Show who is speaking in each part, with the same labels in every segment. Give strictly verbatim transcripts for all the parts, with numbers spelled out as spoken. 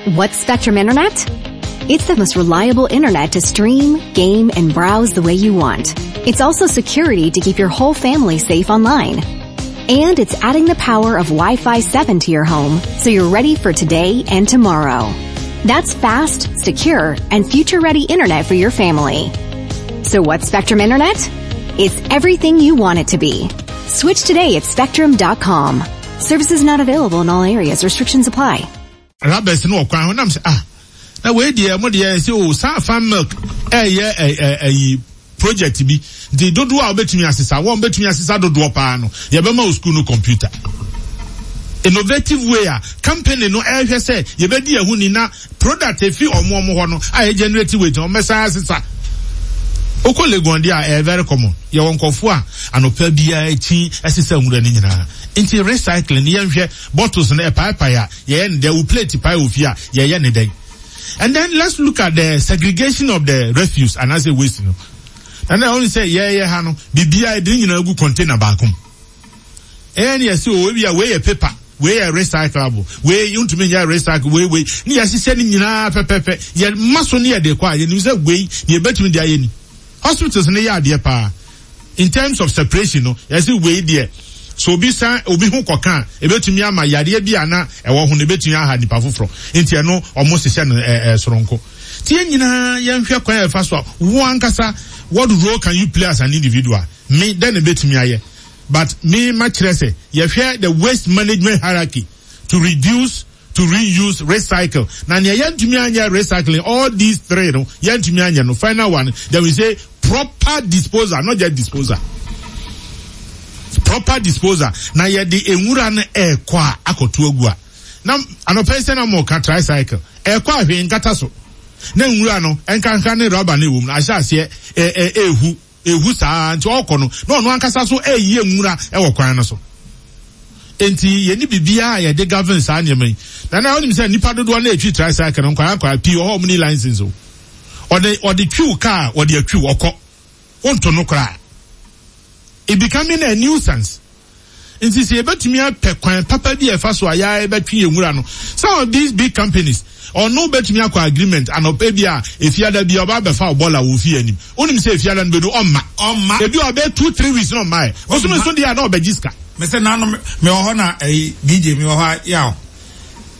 Speaker 1: What's Spectrum Internet? It's the most reliable internet to stream, game, and browse the way you want. It's also security to keep your whole family safe online. And it's adding the power of Wi-Fi seven to your home so you're ready for today and tomorrow. That's fast, secure, and future-ready internet for your family. So what's Spectrum Internet? It's everything you want it to be. Switch today at spectrum dot com. Services not available in all areas. Restrictions apply.
Speaker 2: Rubbers no kwan ho nam sɛ, ah, na wei deɛ, mo deɛ sɛ o saa Fan Milk ɛyɛ ɛ ɛyi project bi, nti dodoɔ a wobɛtumi asesa wɔn bɛtumi asesa dodoɔ paa no, yɛbɛma o school no computer. Innovative way a company no ɛhwɛ sɛ yɛbɛdi ɛho ni na product efi ɔmo ɔmo hɔ no a yɛ generate weight, ɔmo bɛsan asesa. Okɔ Legon deɛ a, ɛyɛ very common. Yɛwɔ nkɔfoɔ a anɔpa biara akyi ɛsesa nwura no nyinaa. Nti recycling, yɛnhwɛ bottles no ɛpaepae a, yɛyɛ ne dɛn? Wo plate pae wɔ fie a, yɛyɛ ne dɛn? And then let's look at the segregation of the refuse anaasɛ waste no. Na na ɔno sɛ yɛyɛ ha no, biribiara yɛde ne nyinaa gu container baako mu. Ɛyɛ ne yɛsɛ o, ebi a wei yɛ paper, wei yɛ recyclable, wei ntumi nyɛ recycle, wei wei ne yɛhyehyɛ ne nyinaa pɛpɛpɛ. Yɛ ma so ne yɛde kɔ a, yɛnim sɛ wei ne yɛbɛtumi de ayɛ ni. Hospitals ne yɛ adeɛ paa in terms of separation no. Yɛsɛ wei deɛ, so obi san obi ho kɔka a, ebetumi ama yareɛ bi a na ɛwɔ ho no, ebetumi aha nipa foforɔ, nti ɛno ɔmo hyehyɛ no ɛɛ ɛɛ soronko. Tie nyinaa, yɛnhwɛ kwan a yɛfa so a, wo ankasa, what role can you play as an individual? Me dɛn na ebetumi ayɛ? But me ma kyerɛ sɛ yɛhwɛ the waste management hierarchy to reduce, to reuse, recycle. Na nea yɛntumi anyɛ recycling, all these three no yɛntumi anyɛ no, final one, then we say proper disposal, not just disposal, proper disposal. Na yɛde nwura no ɛɛkɔ a, akɔto agu a, na anɔpɛ yi sɛ na mo ka tricycle ɛɛkɔ a, hwee nkata so, na nwura no nkanka ne rubber no ɛwɔ mu no ahyɛ aseɛ ɛ ɛ ehu ehu saa. Nti ɔkɔ no, na ɔno ankasa so ɛyi nwura ɛwɔ kwan no so. Nti yɛni biribiara a yɛde govern saa nneɛma yi. Na na ɔnim sɛ nipa dodoɔ na etwi tricycle no, nkwadaa nkwadaa pii wɔ hɔ a wɔn ni license o. ɔde ɔde twiw kaa, ɔde atwiw ɔkɔ, wonto no koraa. It becoming a nuisance. Nti sɛ yɛbɛtumi apɛ kwan papa bi a ɛfa so a yɛa yɛbɛtwe yɛn nwura no, some of these big companies, ɔno bɛtumi akɔ agreement anɔpɛ bi a, efiada bi a ɔba abɛfa ɔbɔla wɔ fie anim. Wonim sɛ efiada no bɛdu, ɔmma.
Speaker 3: Ɔmma.
Speaker 2: Ebi a ɔbɛ two three weeks na ɔmma yɛ bosome so deɛ a, na ɔbɛgye sika.
Speaker 3: Mɛ sɛ nanu mɛ wɔ hɔ na ɛyi D J mi wɔ hɔ a, yaw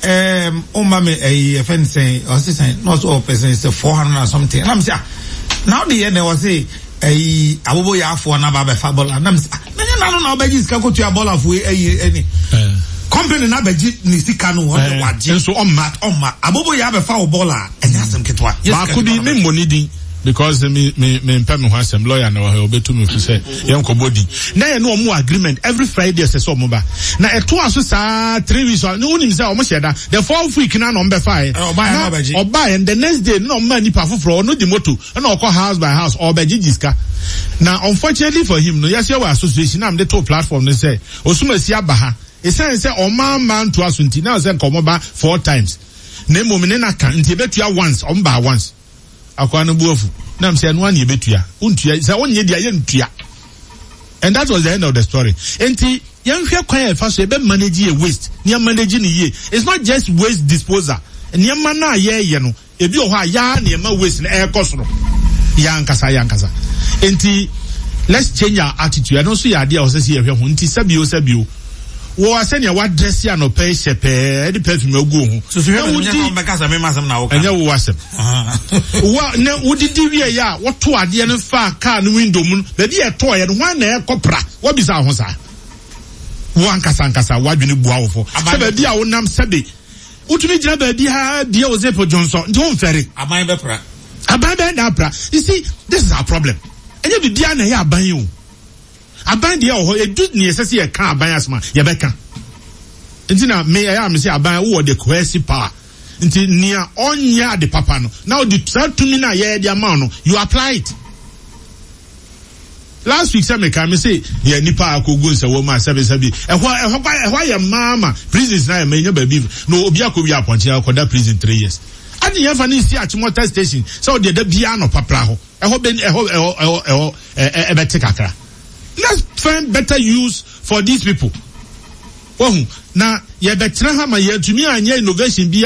Speaker 3: ɛɛm ɔmma mi ɛyi ɛfɛ nsɛn ɔsi sɛn na ɔsɛ ɔpɛ sɛn sɛ four hundred and something, ɛna mi sɛ, ah, na ɔde yɛ dɛ? Ɔsi ɛyi abobo yɛ afoɔ na ba abɛfa bɔla. Na mi sɛ, ah, na nye nanu na ɔbɛgye sika kotua bɔla fo ɛyi ɛni company na abɛgye ne sika no, ɔde wagye.
Speaker 2: Nso ɔmma.
Speaker 3: Ɔmma abobo yɛ abɛfa wɔ bɔla, ɛnyɛ asɛm ketewa. Yɛ sika
Speaker 2: baako bi
Speaker 3: ketewa
Speaker 2: me
Speaker 3: na
Speaker 2: mmɔ ne din because me me me mpɛ me ho asɛm. Lawyer na wɔ ha, obetu mi fi sɛ yɛn nkɔbɔ din. Na yɛ ne ɔmo wɔ agreement, every Friday ɛsɛ sɛ ɔmo ba. Na ɛtoa so saa three weeks a, ne wonim sɛ ɔmo hyɛ da, the fourth week na na ɔmo bɛfa yɛ.
Speaker 3: Ɛ, ɔbaa yɛ na ɔbɛgye.
Speaker 2: Ɔbaa yɛ the next day na ɔmo ma nipa foforɔ, ɔno di moto ɛna ɔkɔ house by house ɔbɛgye gye sika. Na unfortunately for him no, yɛsɛ wɔ association na mo de to platform no sɛ osumasi aba ha, esan sɛ ɔmaa mmaa ntoa so, nti na sɛ nkɔmɔ ba four times na emom ne na ka nti ebetua once. Ɔmo ba once, akwa no bu afu nam sɛ ɛno ani ebetua, wontua sɛ wonyɛ deɛ yɛ ntua, and that was the end of the story. Nti yɛnhwɛ kwan a yɛfa so yɛbɛ manage yɛ waste ne yɛ manage ne yie. It's not just waste disposal. Nneɛma no a yɛɛyɛ no, ebi wɔ hɔ a yaa nneɛma waste no ɛɛkɔ soro, yɛ ankasa yɛ ankasa. Nti let's change our attitude. Ɛno nso yɛ adeɛ a ɔsɛ sɛ yɛhwɛ ho. Nti sɛbio sɛbio, wɔ asɛnea wadress anɔpɛ yi, hyɛ pɛɛ, ɛde perfume agu wo ho.
Speaker 3: Soso hwɛ.
Speaker 2: Na
Speaker 3: bɛ
Speaker 2: wodi
Speaker 3: nyɛ bɛka sɛ mema asɛm na woka.
Speaker 2: Ɛnyɛ wo asɛm wa na wodidi wie yɛ a, wɔto adeɛ no fa kaa no window mu no, baabi a ɛtɔɔ yɛ no, hwan na ɛkɔ pra? Wɔbisa ho saa. Wo ankasa ankasa wadwene bua wo fo sɛ baabi a wonam, sɛbe wotumi gyina baabi a bie wo zip dwonsɔ, nti womfɛre.
Speaker 3: Aban bɛpra.
Speaker 2: Aban bɛn na apra? You see, this is our problem. Ɛnyɛ biribiara na ɛyɛ aban yi o. Aban deɛ wɔ hɔ, edu nea ɛsɛ sɛ yɛka aban asɛm a, yɛbɛka. Nti na me ɛyɛ a me sɛ aban wowɔ the coercive power, nti nea ɔnyɛ ade papa no, na ɔde saa tumi no a yɛyɛ de ama wo no, you apply it. Last week sɛ meka me se yɛ nipa a akɔgu nsɛwɔ mu a, sɛbesɛbe ɛhɔ ɛhɔ kwa ɛhɔ ayɛ mmaa ma prisons na ayɛ ma enya baabi na obi akɔwi apɔnkye akɔda prison three years. Adi yɛn fa ne nsi Achimota Station sɛ ɔde ɛda biara nɔ papra hɔ, ɛhɔ bɛ ɛhɔ ɛhɔ ɛhɔ ɛhɔ ɛ ɛbɛte kakra. Let's find better use for these people. Wahu na yɛbɛtena ha ma yɛntumi anyɛ innovation bi.